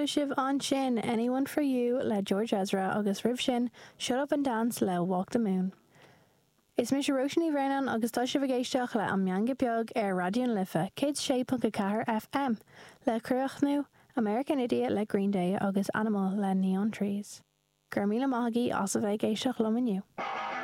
Chuala sibh ansin Anyone For You le George Ezra agus roimh sin Shut Up and Dance le Walk the Moon. Is mise Róisín Ní Bhraonáin agus tá sibh ag éisteacht le An Meangadh Beag ar Raidió na Life 106.4 FM. Le críochnú, American Idiot le Green Day agus Animal le Neon Trees. Go raibh míle maith agaibh as a bheith ag éisteacht liom inniu.